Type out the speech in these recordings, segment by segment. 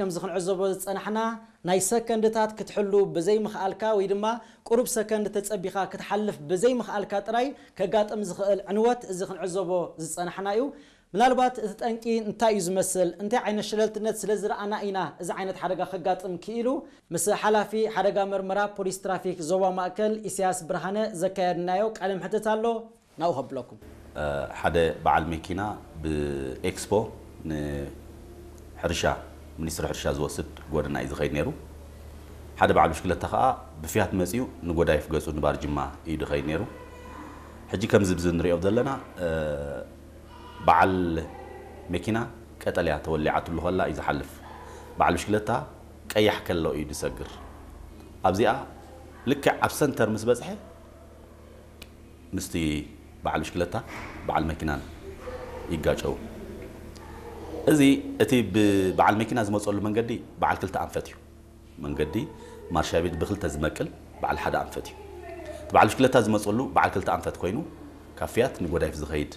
ከምዚ ክንዕዘቦ ዝጸናሕና፣ ናይ ሰከንድታት ክትሕሉ ብዘይምኽኣልካ ወይ ድማ ቁሩብ ሰከንድ ተጸቢኻ ክትሓልፍ ብዘይምኽኣልካ ጥራይ ከጋጥም ዝኽእል ዕንወት፣ እዚ ክንዕዘቦ ዝጸናሕና እዩ። ምናልባት እቲ ጠንቂ እንታይ እዩ ዝመስል፣ እንታይ ዓይነት ሸለልትነት ስለ ዝረኣና ኢና እዚ ዓይነት ሓደጋ ከጋጥም ክኢሉ? ምስ ሓላፊ ሓደጋ መርመራ ፖሊስ ትራፊክ ዞባ ማእከል ኢሳያስ ብርሃነ ዘካየድናዮ ቃለ ምሕትት ኣሎ። ናብኡ ከብለኩም። ሓደ በዓል መኪና ብኤክስፖ ንሕርሻ፣ ሚኒስትሪ ሕርሻ ዝወስድ ጎደና እዩ ዝኸይድ ነይሩ። ሓደ በዓል ብሽክለታ ከዓ ብፍያት መፂኡ ንጎዳይፍ ገፁ ንባርጅማ እዩ ዝኸይድ ነይሩ። ሕጂ ከምዚ ብዚ ንሪኦ ዘለና በዓል መኪና ቀጠልያ ተወሊዓትሉ ከላ እዩ ዝሓልፍ። በዓል ብሽክለታ ቀያሕ ከሎ እዩ ዝሰግር። ኣብዚኣ ልክዕ ኣብ ሰንተር ምስ በፅሐ ምስቲ በዓል ብሽክለታ በዓል መኪናን ይጋጨው። እዚ እቲ ብበዓል መኪና ዝመፀሉ መንገዲ በዓል ክልተ ኣንፈት እዩ። መንገዲ ማርሻ ቤት ብክልተ ዝመቅል በዓል ሓደ ኣንፈት እዩ። እቲ በዓል ብሽክለታ ዝመፀሉ በዓል ክልተ ኣንፈት ኮይኑ ካብ ፍያት ንጎዳይፍ ዝኸይድ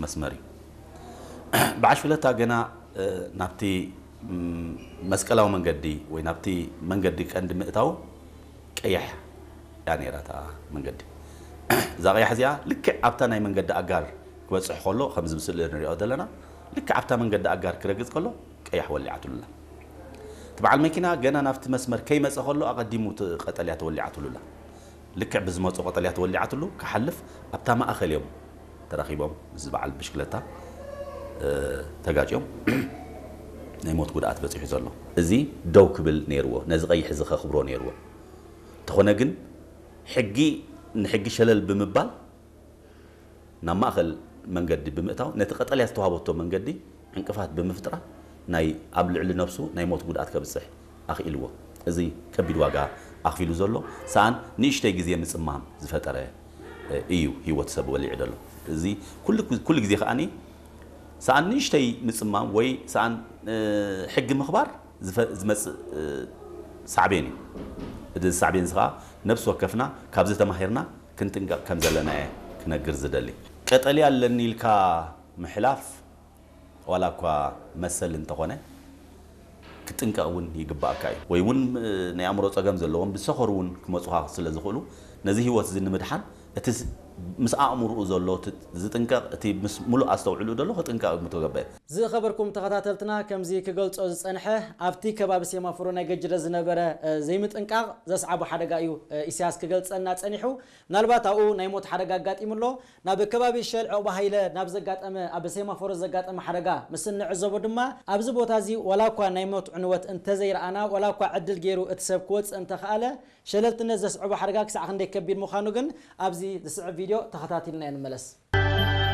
መስመር እዩ። በዓል ብሽክለታ ገና ናብቲ መስቀላዊ መንገዲ ወይ ናብቲ መንገዲ ቀንዲ ምእታው ቀያሕ እያ ነይራ እታ መንገዲ። እዛ ቀያሕ እዚኣ ልክዕ ኣብታ ናይ መንገዲ ኣጋር ክበፅሕ ከሎ ከምዚ ብስእሊ ንሪኦ ዘለና ልክዕ ኣብታ መንገዲ ኣጋር ክረግፅ ከሎ ቀያሕ ወሊዓትሉላ። እቲ በዓል መኪና ገና ናብቲ መስመር ከይመፀ ከሎ ኣቐዲሙ እቲ ቀጠልያ ተወሊዓትሉላ። ልክዕ ብዝመፁ ቀጠልያ ተወሊዓትሉ ክሓልፍ ኣብታ ማእኸል እዮም ተራኺቦም ምስ በዓል ብሽክለታ ተጋጭዮም ናይ ሞት ጉድኣት በፂሑ ዘሎ። እዚ ደው ክብል ነይርዎ፣ ነዚ ቀይሕ እዚ ከኽብሮ ነይርዎ። እንተኾነ ግን ሕጊ ንሕጊ ሸለል ብምባል ናብ ማእኸል መንገዲ ብምእታው ነቲ ቀጠልያ ዝተዋህበቶ መንገዲ ዕንቅፋት ብምፍጥራ ናይ ኣብ ልዕሊ ነብሱ ናይ ሞት ጉድኣት ከብፅሕ ኣኽኢልዎ። እዚ ከቢድ ዋጋ ኣኽፊሉ ዘሎ ሰኣን ንእሽተይ ግዜ ምፅማም ዝፈጠረ እዩ ህይወት ሰብ ወሊዑ ዘሎ። እዚ ኩሉ ግዜ ከዓኒ ሰኣን ንእሽተይ ምፅማም ወይ ሰኣን ሕጊ ምኽባር ዝመፅእ ሳዕቤን እዩ። እዚ ሳዕቤን እዚ ከዓ ነብሲ ወከፍና ካብዚ ተማሂርና ክንጥንቀቕ ከም ዘለና እየ ክነግር ዝደሊ። ቀጠልያ ኣለኒ ኢልካ ምሕላፍ ዋላ እኳ መሰል እንተኾነ ክትጥንቀቕ እውን ይግባኣካ እዩ። ወይ እውን ናይ ኣእምሮ ፀገም ዘለዎም ብሰኸሩ እውን ክመፁኻ ስለ ዝኽእሉ ነዚ ህይወት እዚ ንምድሓን እቲ ምስ ኣእምርኡ ዘሎ ዝጥንቀቕ እቲ ምስ ሙሉእ ኣስተውዕሉ ዘሎ ክጥንቀቕ ምተገበ። ዝኸበርኩም ተኸታተልትና ከምዚ ክገልጾ ዝጸንሐ ኣብቲ ከባቢ ሴማፎሮ ናይ ገጅረ ዝነበረ ዘይምጥንቃቕ ዘስዓቦ ሓደጋ እዩ ኢሳያስ ክገልጸልና ጸኒሑ። ምናልባት ኣብኡ ናይ ሞት ሓደጋ ኣጋጢሙ ኣሎ። ናብ ከባቢ ሸል ዕቑባ ሃይለ ናብ ዘጋጠመ ኣብ ሴማፎሮ ዘጋጠመ ሓደጋ ምስ እንዕዘቦ ድማ ኣብዚ ቦታ እዚ ዋላ እኳ ናይ ሞት ዕንወት እንተዘይረኣና ዋላ እኳ ዕድል ገይሩ እቲ ሰብ ክወጽእ እንተኸኣለ ሸለልትነት ዘስዕቦ ሓደጋ ክሳዕ ክንደይ ከቢድ ምዃኑ ግን ኣብዚ ዝስዕብ ቪድዮ ተኸታቲልና ንመለስ።